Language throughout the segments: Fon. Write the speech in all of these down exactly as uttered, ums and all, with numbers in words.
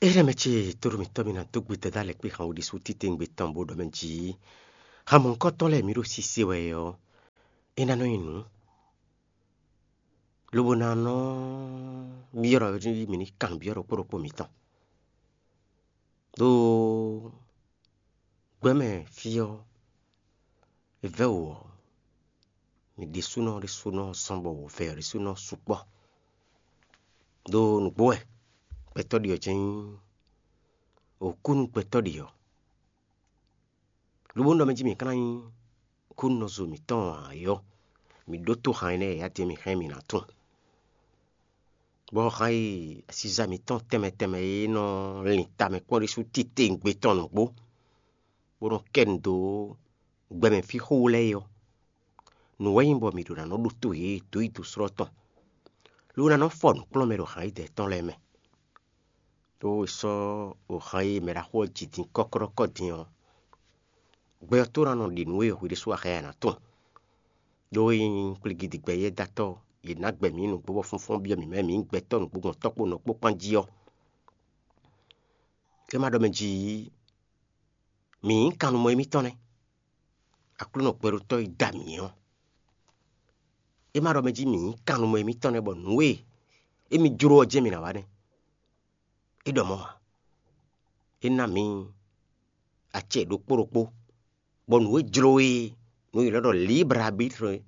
Énɛ́ mɛ ce, tóɖó mǐtɔn mì ná dó gbe dada lɛ́ kpé xan wú ɖésú titewungbe tɔn bó ɖɔ mɛ jí: "Hamɔ̌kɔ́tɔn lɛ́ɛ mǐ ɖo sísé wɛ ɔ́, é ná nɔ nyí nǔ." Lobo ná nɔ byɔ́ ɖɔ mǐ ní kan byɔ́ ɖokpó ɖokpó mǐtɔn. Ɖó gbɛmɛ fí ɔ́, è vɛ́ wǔ ɔ́, mǐ ɖésúnɔ ɖésúnɔ zɔ́n bɔ wǔvɛ́ ɔ́ ɖésúnɔ sukpɔ́. Ɖó nǔgbó wɛ gbɛtɔ́ ɖi ɔ́ jɛ́n nyí, wǒ kú nú gbɛtɔ́ ɖi ɔ́. Lobo ɖɔ mɛ jí mǐ ka ná nyí kúnɔzo mǐtɔn ǎ é ɔ́, mǐ ɖótó han énɛ́ e yǎtɛn mǐ hɛn mǐ ná tunwun. Bɔ han e asíza mǐtɔn tɛnmɛ tɛnmɛ e nɔ lin tamɛ kpɔ́n ɖésú titewungbe tɔn nǔgbó, bó nɔ kɛ nu dó gbɛmɛ fí xówó lɛ́ɛ é ɔ́, nǔ wɛ nyí bɔ mǐ ɖo ná nɔ ɖótó yě dó yi dǒ slɔ́ tɔn, ló ná nɔ fɔ nǔkplɔ́nmɛ ɖo han e dɛ̌ tɔn lɛ́ɛ mɛ. Ɖó è sɔ́ ohan e mɛ ɖaxó ɔ́ ji din kɔ́klɔ́kɔ́ din ɔ́, gbɛ ɔ́ tó ná nɔ ɖi nǔ e hwi ɖésú a xá ɛ ná tunwun. Ɖó é nyí kplígídigbɛ yɛ́ dó atɔ́, yě ná gbɛ mǐ nǔgbó bɔ fúnfún byɔ́ mǐ mɛ mǐ nyí gbɛtɔ́ nǔgbó gbɔn tɔ́kpó nɔkpó kpán jí ɔ́, é ma ɖɔ mɛ jí mǐ nyí kannumɔ émítɔn nɛ́. Aklúnɔ gbɛɖótɔ́ e da mǐ ɔ́, é ma ɖɔ mɛ jí mǐ nyí kannumɔ émítɔn nɛ́ bɔ nǔ e émí jló ɔ́ jɛ́n mǐ ná wa nɛ́. É ɖɔ mɔ̌ ǎ. É ná mǐ acɛ ɖokpó ɖokpó, bɔ nǔ e jló é, nǔ e è nɔ ɖɔ libre arbitre é,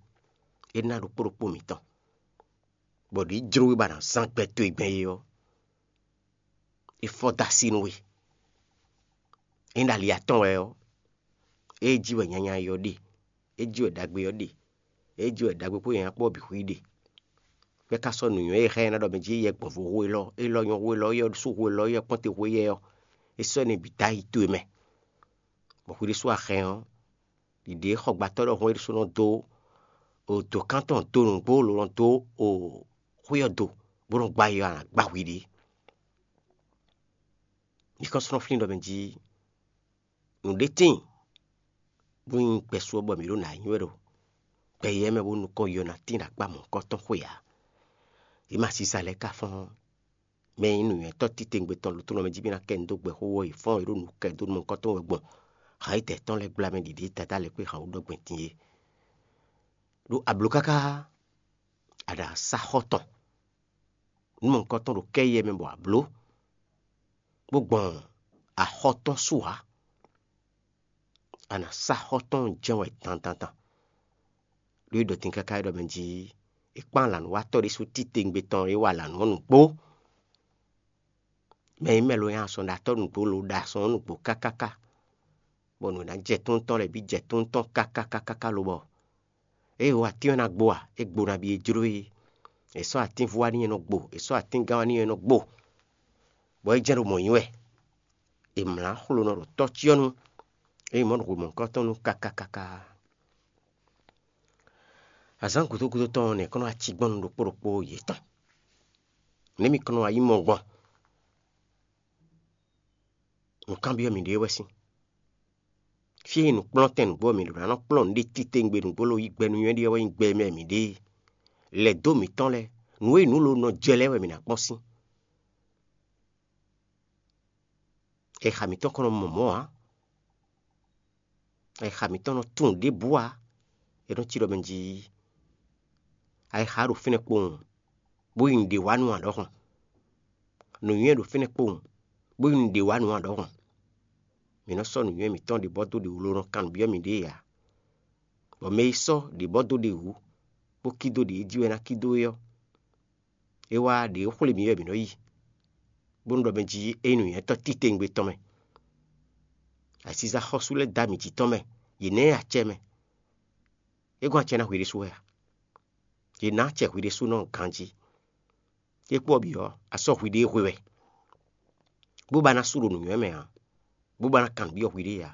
é ná ɖokpó ɖokpó mǐtɔn, bɔ ɖě jló é ba ná zán gbɛ towe gbɛn é ɔ́, é fɔ dó así nú we. Ényí ɖo ali atɔn wɛ ɔ́, é jí wɛ nyanya ɔ́ ɖe, é jí wɛ ɖagbe ɔ́ ɖe, é jí wɛ ɖagbe kpó nyanya kpó ɔ́ bǐ xwí ɖe. Bɔ é ka sɔ́ nǔnywɛ́ e xá ɛ ná ɖɔ mɛ jí é yɛ gbɔ̌nvo hú élɔ́, élɔ́ nyɔ́ hú élɔ́, é yɔ́ sú hú élɔ́, é yɔ́ kpɔ́nte hú éyɛ́ ɔ́, é sɔ́ énɛ́ bǐ dó ayi towe mɛ. Bɔ hwi ɖésú a hɛn ɔ́, ɖiɖe e xɔgbátɔ́ ɖɔhun é ɖésú nɔ dó dǒkan tɔn dó nǔgbó lǒ nɔ dó xwé ɔ́ do, bó nɔ gbá yi ɔ́, a nǎ gbá hwi ɖě. Nyǐkɔ sɔ́ nɔ flín ɖɔ mɛ jí nǔɖé tíin, bó nyí gbɛ́sú ɔ́ bɔ mǐ ɖo nǎ nywɛ́ ɖo gbɛ yɛ́ mɛ bó nukɔn yɔ ná tín ɖo akpá mɔ̌hunkɔtɔn xwe ǎ. Yě ma sisa lɛ́ɛ ka fɔ́n mɛ e nyí nǔnywɛ́tɔ́ titewungbe tɔn lǒ tlóló mɛ jí mì ná kɛ nu dó gbɛxó ɔ́, yě fɔ́n yě ɖo nǔ kɛ dó nú mɔ̌hunkɔtɔn wɛ gbɔn ha yi tɛ̌ tɔn lɛ́ɛ gbla mɛ ɖiɖe Dadá lɛ́ɛ kpé han wú ɖɔ gbɛn din é. Ɖó a blǒ káká, a ɖo asá xɔ tɔn, nǔ mɔ̌hunkɔtɔn ɖo kɛ́ yɛ mɛ bɔ a blǒ, bó gbɔn axɔ tɔn su ǎ. A nǎ sá xɔ tɔn jɛ́n wɛ dandandan. Ɖó é ɖɔ din káká é ɖɔ mɛ jí é kpán lǎnúwatɔ́ ɖésú titewungbe tɔn e wa lǎnú ɔ́ nǔgbó. Mɛ e mɛ lo nyi asɔ́nɖatɔ́ nǔgbó lo ɖo asɔn ɔ́ nǔgbó kákáká, bɔ nǔ e ná jɛ tún tɔn lɛ́ɛ bǐ jɛ tún tɔn kákákákáká lobɔ ée wǒ atín ɔ́ ná gbo a, é gbo nabí e jló é. È sɔ́ atínvú wá n'i é nɔ gbo, è sɔ́ atíngán wá n'i é nɔ gbo, bɔ é jɛ́n ɖo mɔ̌ nyi wɛ. È mlǎ xlonɔ ɖo tɔ́ cyɔ́nu, é nyí mɔ̌ ɖo hwemɔ̌hunkɔ tɔn nu káká káká. Azǎn gǔdo gúdo tɔn ɔ́, nɛ̌ kɔn nɔ wá cí gbɔn nú ɖokpó ɖokpó yětɔn? Nɛ̌ mi kɔn nɔ wá yí mɔ gbɔn? Nǔkanbyɔ́ mǐɖée wɛ sín. Fí e nǔkplɔ́ntɛn nǔgbó ɔ́, mǐ ɖo ná nɔ kplɔ́n nǔɖé titewungbe nǔgbó lo yí gbɛ nú nywɛ́ ɖé ɔ́ wɛ nyí gbɛ e mɛ mǐ ɖe e. Lɛ̌ dó mǐtɔn lɛ́ɛ, nǔ e nǔ lo nɔ jɛ lɛ́ɛ wɛ mǐ ná kpɔ́n sín. Ayixa mǐtɔn kɔn nɔ mɔ mɔ̌ ǎ. Ayixa mǐtɔn nɔ tunwun ɖěbǔ ǎ. É nɔ cí ɖɔ mɛ jí ayixa ɖo fínɛ́ kpowun, bó yi nǔɖé wa nú ǎ ɖɔhun. Nǔnywɛ́ ɖo fínɛ́ kpowun, bó yi nǔɖé wa nú ǎ ɖɔhun. Mǐ nɔ sɔ́ nǔnywɛ́ mǐtɔn ɖě bɔ dó ɖě wú lo nɔ kan nǔ byɔ́ mǐɖée ǎ. Bɔ mɛ e sɔ́ ɖě bɔ dó ɖě wú, bó cí dó ɖě e jí wɛ ná cí dó é ɔ́, é wá ɖě e xwlé mǐ wɛ mǐ nɔ yi, bónú ɖɔ mɛ jí é nyí nǔnywɛ́tɔ́ titewungbe tɔn mɛ. Asízá xɔ́sú lɛ́ɛ dó ami jǐ tɔn mɛ, yě ná ɛ acɛ mɛ. É gɔ́n acɛ ná hwi ɖésú wɛ a? Yě ná acɛ hwi ɖésúnɔ ganjí. É kpó ɔ́ bǐ ɔ́, a sɔ́ hwiɖée hwe wɛ, bó ba ná sú ɖo nǔnywɛ́ mɛ ǎ, bó ba ná kan nǔ byɔ́ hwiɖée ǎ,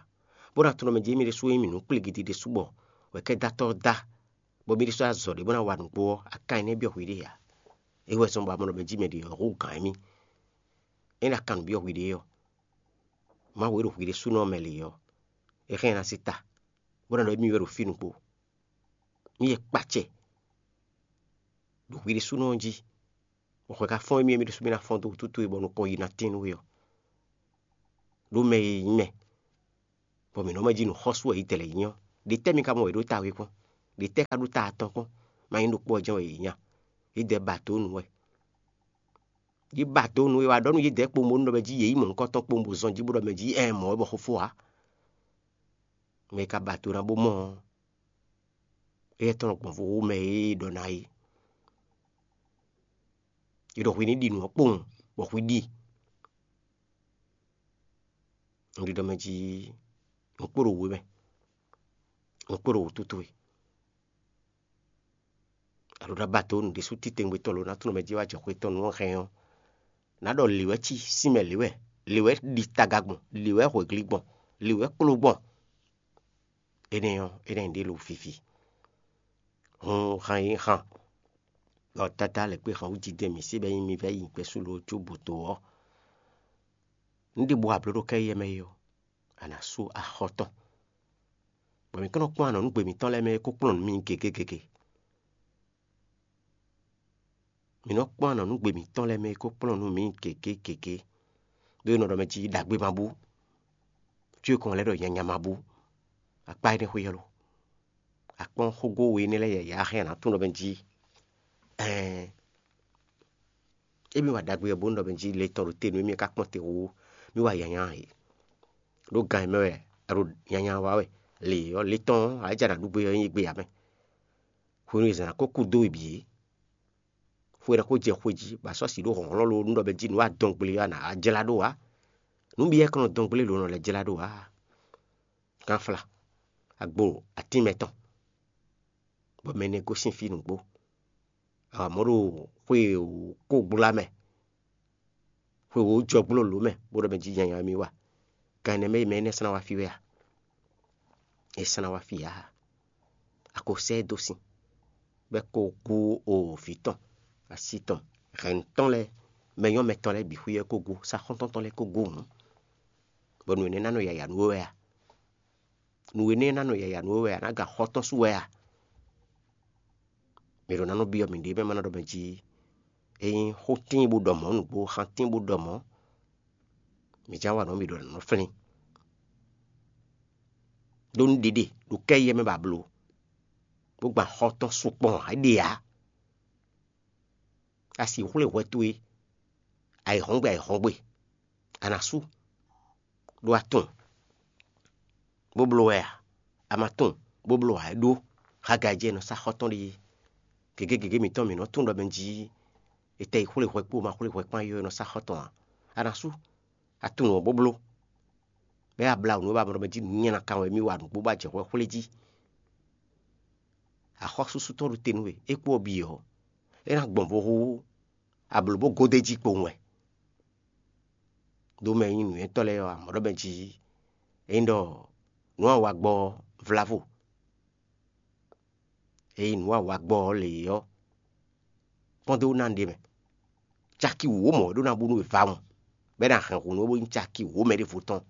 bó ná tunwun ɖɔ mɛ jí émí ɖésú e nyí mǐ nú kplígidi ɖésú bɔ wɛ kɛ́ dó atɔ́ ɔ́ dó a, bɔ mí ɖésú a zɔ ɖě bó ná wa nǔgbó ɔ́, a kan ɛ nɛ́ byɔ́ hwiɖée ǎ. É wɛ zɔ́n bɔ a mɔ ɖɔ mɛ jí mɛ ɖě ɔ́ hú gǎn émí. Ényí a kan nǔ byɔ́ hwiɖée ɔ́, Mawu e ɖo hwi ɖésúnɔ mɛ lě ɔ́, é hɛn ɛ ná sí ta, bó ná ɖɔ émí wɛ ɖo fí nukpó. Mí yɛ kpacɛ ɖo hwi ɖésúnɔ ɔ́ jí, bɔ hwɛ ka fɔ́n émí émí ɖésú mí ná fɔ́n dó wútu towe bɔ nukɔn yi ná tín nú we ɔ́. ɖó mɛ e nyí mɛ, bɔ mǐ nɔ mɛ jí nǔ xɔ́sú wɛ yě dɛ lɛ́ɛ nyí ɔ́, ɖětɛ́ mi ka mɔ wɛ ɖó ta we kpɔ́n? Ɖětɛ́ ka ɖó ta atɔn kpɔ́n? Má nyí ɖokpó ɔ́ jɛ́n wɛ yě nya. Yě dɛ ba dǒ nǔ wɛ. Yě ba dǒ nǔ e wa ɖɔ nú yě dɛ kpowun bónú ɖɔ mɛ jí yě yí mɔ̌hunkɔtɔn kpowun bó zɔn jí bó ɖɔ mɛ jí ɛ mɔ̌ wɛ bɔ xófó ǎ. Mɛ e ka ba do ná bó mɔ ɔ́, éyɛ́ tɔn nɔ gbɔn vo wú mɛ e ɖɔ ná é. È ɖɔ hwi ní ɖi nǔ ɔ́ kpowun, bɔ hwi ɖi. Un ɖi ɖɔ mɛ jí un kpo ɖo wǔ mɛ, un kpo ɖo wǔtútú we. Alo ɖo abató nǔ ɖésú titewungbe tɔn lo ná tunɔ mɛ jí wá jɛ xwé tɔn nú hɛn ɔ́, nǎ ɖɔ lě wɛ cí, sín mɛ lě wɛ, lě wɛ ɖi taga gbɔn, lě wɛ hwɛgli gbɔn, lě wɛ kpló gbɔn. Énɛ́ ɔ́, énɛ́ ɖě lo fifi. Hun han e han ɖɔ Dadá lɛ́ kpé han wú jijɛ mǐ se bɔ é nyí mi vɛ́ yi gbɛ́ sú lo jó bǔ dó ɔ́, un ɖi bú abló ɖo kɛ́yɛ mɛ é ɔ́, a nǎ sú axɔ́ tɔn, bɔ mǐ kɔn nɔ kpɔ́n anɔ̌nugbe mǐtɔn lɛ́ɛ mɛ e ko kplɔ́n nǔ mì gěgé gěgé. Mǐ nɔ kpɔ́n anɔ̌nugbe mǐtɔn lɛ́ɛ mɛ e ko kplɔ́n nú mǐ gěgé gěgé, ɖó è nɔ ɖɔ mɛ jí ɖagbe ma bú, cyɔ e kɔn lɛ́ ɖɔ nyanya ma bú. Akpá énɛ́ xwé ɔ́ lo? Akpɔ́n xógó we énɛ́ lɛ́ɛ yǎyá hɛn a nǎ tunwun ɖɔ mɛ jí ɛɛn émí wa ɖagbe ɔ́ bónú ɖɔ mɛ jí le tɔn ɖo te nú émí ka kpɔ́n te wú mí wa yanya e. Ɖó gan e mɛ wɛ a ɖo nyanya wa wɛ. Le ɔ́ le tɔn ɔ́ a jɛ a nǎ ɖu gbé ɔ́ nyí gbe ǎ mɛ. Hwenu e zǎn ná kó kú dó we bǐ é, xwe ná kó jɛ xwe jí bɔ a sɔ́ si ɖó hlɔ̌nhlɔ́n lo nú ɖɔ mɛ jí nǔ wa dɔn gble ɔ́ a nǎ jlá ɖó ǎ. Nǔ bǐ wɛ kɔn nɔ dɔn gble lo nɔ lɛ́ jlá ɖó ǎ. Gánfla, agbo atín mɛtɔn, bɔ mɛ énɛ́ gosín fí nǔgbó. Amɔ̌ ɖo xwe wǒ kó gbla mɛ, xwe wǒ jɔ gbló lǒ mɛ bó ɖɔ mɛ jí nyanya mì wa. Gan énɛ́ mɛ e mɛ énɛ́ sɔ́ ná wá fí wɛ a? É sɔ́ ná wá fí ǎ. A ko sɛ́ ɛ dó sin, bɔ é ko gú o vǐ tɔn, asi tɔn, hɛ̌nnu tɔn lɛ́ɛ, mɛnyɔ́mɛ tɔn lɛ́ɛ bǐ xwí ɔ́ é ko gú, sá xɔ́ntɔn tɔn lɛ́ɛ ko gú hǔn, bɔ nǔ énɛ́ ná nɔ yaya nú we wɛ a? Nǔ énɛ́ ná nɔ yaya nú we wɛ a? Ná gan xɔ tɔn sú wɛ a? Mǐ ɖo ná nɔ byɔ́ mǐɖée mɛ ma ná ɖɔ mɛ jí é nyí xó tíin bó ɖɔ mɔ̌ nǔgbó, xan tíin bó ɖɔ mɔ̌, mǐ já wa nǔ mǐ ɖo nǎ nɔ flín. Ɖó nú ɖiɖe ɖo kɛ́yɛ mɛ ba bló, bó gban xɔ tɔn sukpɔ́ ǎ ɖe ǎ. A si xwlé hwɛ towe ayǐhɔ́ngbe ayǐhɔ́ngbe, a nǎ sú, ɖó a tunwun, bó bló wɛ a? A ma tunwun, bó bló ǎ é ɖó. Hagai jɛ nɔ sá xɔ tɔn ɖíe. Gěgé gěgé mǐtɔn mǐ nɔ tunwun ɖɔ mɛ jí è tɛ yi xwlé hwɛ kpó ma xwlé hwɛ kpán yɔ è nɔ sá xɔ tɔn ǎ. A nǎ sú, a tunwun ɔ́ bó bló. Bɛ́ a blá nǔ e ba mɔ ɖɔ mɛ jí nǔnywɛ́ ná kan wɛ mì wa nǔgbó bó a jɛ hwɛ xwlé jí. Axɔ́súsú tɔn ɖo te nú we, é kpó ɔ́ bǐ ɔ́, é ná gbɔn vo hú ablǒ bó gode jí kpowun wɛ. Ɖó mɛ e nyí nǔnywɛ́tɔ́ lɛ́ɛ ɔ́, amɔ̌ ɖɔ mɛ jí é nyí ɖɔ nǔ e a wa gbɔ ɔ́ vlávo. Ényí nǔ e a wa gbɔ ɔ́ lě ɔ́, kpɔ́n dó ná ɖe mɛ. Caki wǒ mɔ̌ é ɖó ná bú nú we vawun, bɔ é ná hɛn hǔn nú we bó nyí caki wǒ mɛ ɖěvo tɔn.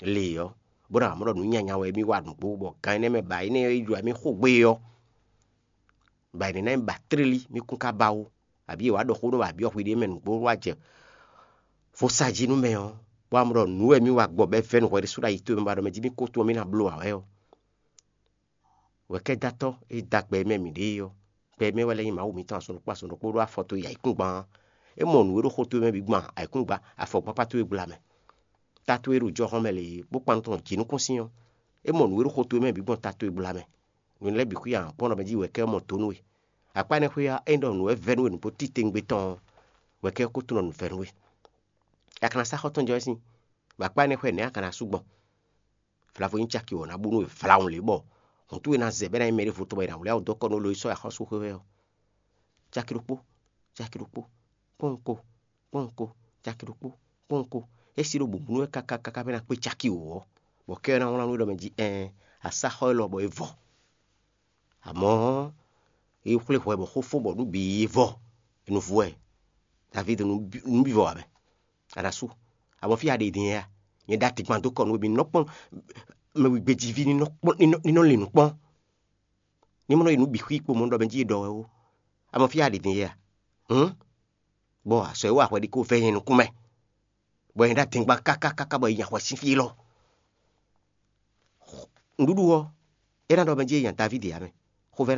Le ɔ́, bó ná mɔ ɖɔ nǔ nyanya wɛ mì wa nǔgbó, bɔ gan énɛ́ mɛ ba énɛ́ e jlɔ́ mì xo gbé ɔ́, ba énɛ́ ná nyí ba tlélí mì kún ka ba ó, abǐ è wǎ ɖɔ xó nú ba byɔ́ hwi ɖé mɛ nǔgbó wá jɛ vo sa jí nú mɛ ɔ́, bó wá mɔ ɖɔ nǔ wɛ mì wa gbɔ bɔ é vɛ́ nǔ hwɛ ɖésú ɖo ayi towe mɛ ba ɖɔ mɛ jí mì kó tun ɔ́ mì ná bló ǎ wɛ ɔ́. Wɛ̌kɛ́dátɔ́ e da gbɛ e mɛ mǐ ɖe é ɔ́, gbɛ e mɛ wɛ lɛ́ nyí Mawu mǐtɔn azɔn ɖokpó azɔn ɖokpó ɖó afɔ towe yi ayǐkúngban ɔ́, é mɔ nǔ e ɖo xó towe mɛ bǐ gban ayǐkúngban afɔgbákpá towe gbla mɛ. Ta towe ɖo jɔhɔn mɛ lě bó kpan nukɔn jǐnukúnsin ɔ́, é mɔ nǔ e ɖo xó towe mɛ bǐ gbɔn ta towe gbla mɛ. Nǔ lɛ́ɛ bǐ xwí ahan kpɔ́n ɖɔ mɛ jí wɛ̌kɛ́ ɔ́ mɔ do nú we. Akpá énɛ́ xwé ɔ́, é nyí ɖɔ nǔ wɛ vɛ́ nú we nǔgbó titewungbe tɔn ɔ́, wɛ̌kɛ́ ɔ́ ko tunɔ nǔ vɛ́ nú we. A ka ná sá xɔ tɔn jɛ wɛ sín, bɔ akpá énɛ́ xwé nɛ̌ a ka ná sú gbɔn? Vlavo nyí caki wǒ ná bú nú we vlawun lě bɔ hǔn towe ná zɛ bɔ é ná nyí mɛ ɖěvo tɔn bɔ è nǎ wlí awu dó kɔ nú lɔ e sɔ́ axɔ́sú xwé wɛ ɔ́. Caki ɖokpó, caki ɖokpó, kpɔ́n ko, kpɔ́n ko, caki ɖokpó, kpɔ́n ko. É sí ɖo bǔbúnú wɛ káká káká bɔ é ná kpé caki wǒ ɔ́, bɔ kɛ ɔ́ ná wlán nú we ɖɔ mɛ jí ɛɛn, a sá xɔ élɔ́ bɔ é vɔ. Amɔ̌, é xwlé hwɛ bɔ xó fó bɔ nǔ bǐ yi vɔ, nǔvú wɛ. Davídi nǔbívɔ ǎ mɛ. A ɖo asú, a mɔ fí a ɖe din a? Nyɛ ɖo atigban dó kɔ nú we bɔ ní nɔ kpɔ́n mɛ wegbejíví ní nɔ kpɔ́n ní nɔ lin nǔ kpɔ́n. Ní mɔ nɔ yi nǔ bǐ xwí kpo mɔ ɖɔ mɛ jí è ɖɔ wɛ ó. A mɔ fí a ɖe din a? Hǔn, bɔ azɔ̌ e wa hwɛ ɖi ko vɛ́ nyɛ nukún mɛ. bɔ è nǎ ɖo adingban káká káká bɔ è nyi ahwan sín fí élɔ́. Nǔɖuɖu ɔ́, é ná ɖɔ mɛ jí è nya Davídi ǎ mɛ.